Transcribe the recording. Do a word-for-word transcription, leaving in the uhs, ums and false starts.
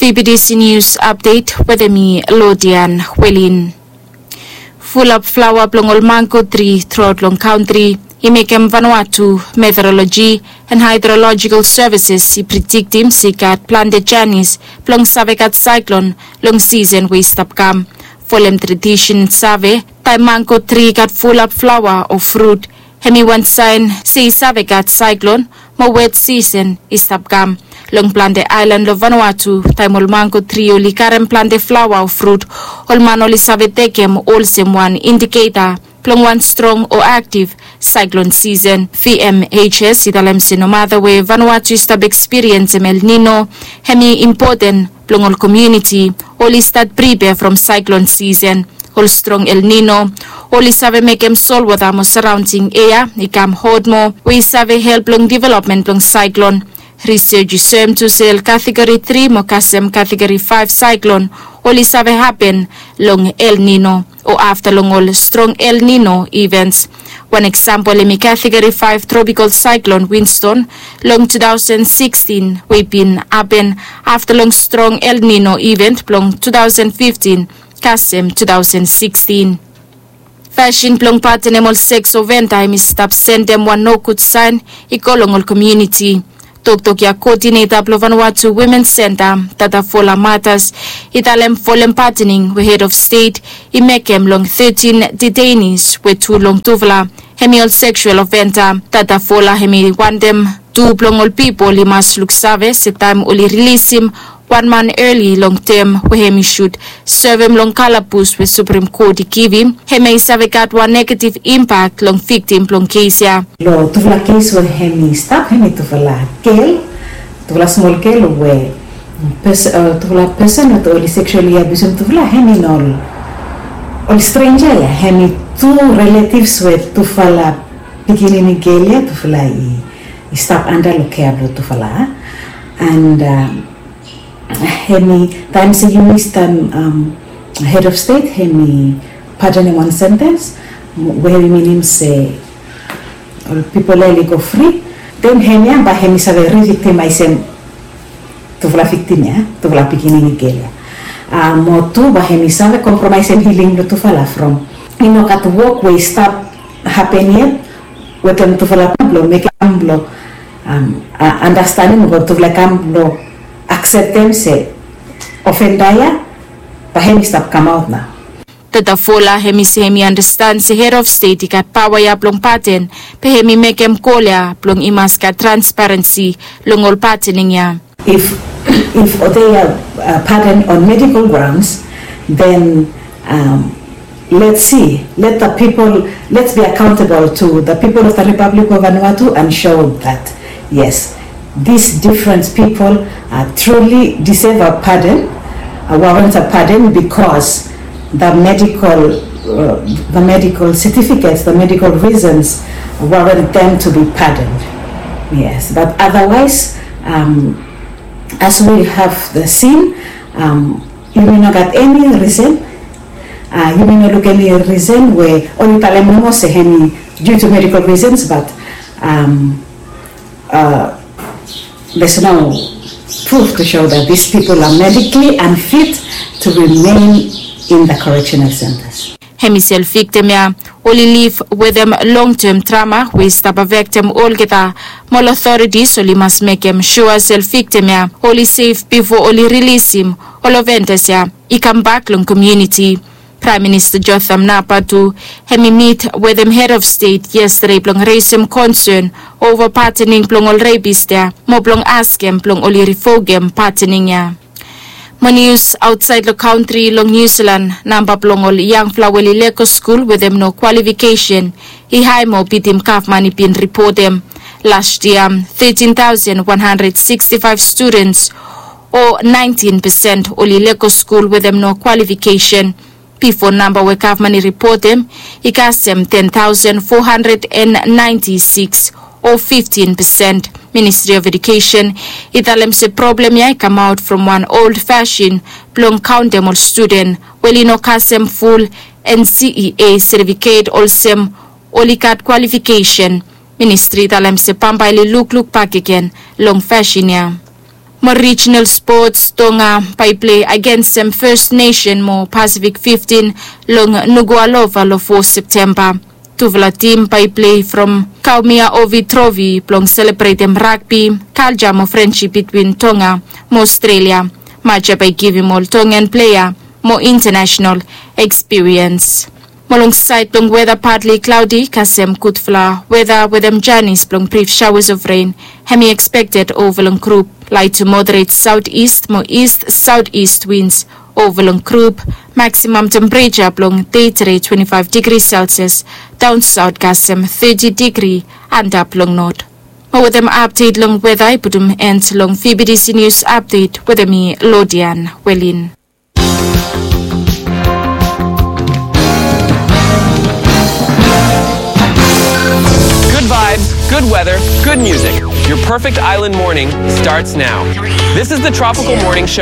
Vbtc News Update wetem mi, Lodian Welin. Fulap flaoa blong ol mango tri truaot long kantri i mekem Vanuatu Meteorology and Hydrological Services i prediktim se i gat plante janis blong save gat saeklon long sisen we i stap kam. Folem tradisen save, taem mango tri i gat fulap flaoa o frut, hemi wan saen se i save gat saeklon mo wet sisen i stap kam. Long plante aelan long Vanuatu, taem ol mango tri oli karem plante flaoa o frut, ol man oli save tekem olsem wan indiketa blong wan strong o aktiv saeklon sisen. VMHS i talem se nomata we Vanuatu i stap ekspiriensem El Nino, hemi impoten blong ol komuniti oli stat pripea from saeklon sisen. Ol strong El Nino oli save mekem solwota mo saraonding ea i kam hot moa, we i save help long developmen blong saeklon. Risej i soem tu se ol kategori tri mo kasem kategori faef saeklon oli save hapen long El Nino o afta long ol strong El Nino ivens. Wan eksampol hemi kategori faef tropikol saeklon Winston long tu taosen sikstin, we i bin hapen afta long strong El Nino iven blong tu taosen fiftin kasem tu taosen sikstin. Fasin blong patenem ol seks oventa hemi stap sendem wan nogud saen i go long ol komuniti. Toktok ya, koodineta blong Vanuatu Women Centre, Tatafola Matas, i talem folem patening we hed of stet i mekem long tetin detainis, we tu long tufala hemi ol seksual oventa. Tatafola hemi wantem tu blong ol pipol i mas luksave se taem oli rilisim wan man eli long tem we hemi sud sevem long kalabus we Suprem Kot i givim, hemia i save gat wan negativ impak long viktim blong kes ya. Long tufala kes we hemi stap, hemi tufala gel, tufala smol gel we pes-, tufala pesen we oli seksuali abiusem tufala, hemi no ol strenja ya, hemi tu riletivs we tufala pikinini gel ya tufala i, i stap anda long kea blong tufala. And hemi taem se yumi taem hed of stet hemi patenem wan sentens we hemi minim se ol pipol ya oli go fri, den hemia bae hemi save riviktimaesem tufala viktim ya, tufala pikinini gel ya. Mo tu bae hemi save kompromaesem hiling blong tufala from i no gat wok we i stap hapen yet wetem tufala blong mekem blong andastanem o tufala kam blong akseptem se ofenda ya bae hemi stap kamaot nao. Tatafola hemi se hemi andastan se hed of stet i gat paoa ya blong paten, be hemi mekem gol ya blong i mas gat transparensi long ol patening ya. If, if they are pardoned on medical grounds, then let's see, let the people, let's be accountable to the people of the Republic of Vanuatu and show that, yes, these different people truly deserve a pardon, warrant a pardon because the medical, the medical certificates, the medical reasons warrant them to be pardoned. Yes, but otherwise, as we have seen, yumi no gat eni risen, yumi no luk eni risen we oli talem nomo se hemi due to medical reasons, but there's no proof to show that these people are medically unfit to remain in the correctional centers. Hemi se ol viktim ya oli liv wetem long tem trama we i stap afektem olgeta, mo ol otoritis oli mas mekem sua se ol viktim ya oli sef bifo oli rilisim ol ofendas ya i kambak long komuniti. Praem Minista Jotham Napat tu hemi mit wetem hed of stet yestade blong resem konsen ova patening blong ol repis ya mo blong askem blong oli rivokem patening ya. Mo nius aotsaed long kantri, long Niu Silan namba blong ol yangfala we oli lego skul wetem no kwalifikesen i hae moa bitim gavman i bin ripotem. Las yia tetin taosen wan handred sikstifaef studens o naentin pesen oli lego skul wetem no kwalifikesen. Bifo namba we gavman i ripotem i kasem ten taosen fo handred en naenti sikis o fiftin pesen. Ministri of Edukesen i talem se problem ya i kamaot from wan old fasin blong kaontem ol studen we oli no kasem ful NCEA setifiket olsem oli gat kwalifikesen. Ministri i talem se bambae oli lukluk bakegen long fasin ya. Mo rijinal spots, Tonga bae i pilei agensem First Nation mo Pasifik fiftin long Nuku'alofa long fo Septemba. Tufala tim bae i pilei from Kaumea Ovi Trofi blong selebretem ragbi, kalja mo frensip bitwin Tonga mo Aostralia. Match ya bae i givim ol Tongan plea mo intanesenal ekspiriens. Mo long saed blong weta, patli klaodi kasem gudfala weta wetem janis blong brif shaoas of ren. Hem i ekspekted ova long grup. Lait tu moderet saotis mo ist saotis wins ova long grup. Maksimam tempereja blong dei tede twenti faef digri selsias, daon saot kasem teti digri antap long not. Mo wetem apdet long weta i putum en long vbtc nius apdet wetem mi, Lodian Welin. Good vibes, good weather, good music. Your perfect island morning starts now. This is the Tropical Morning Show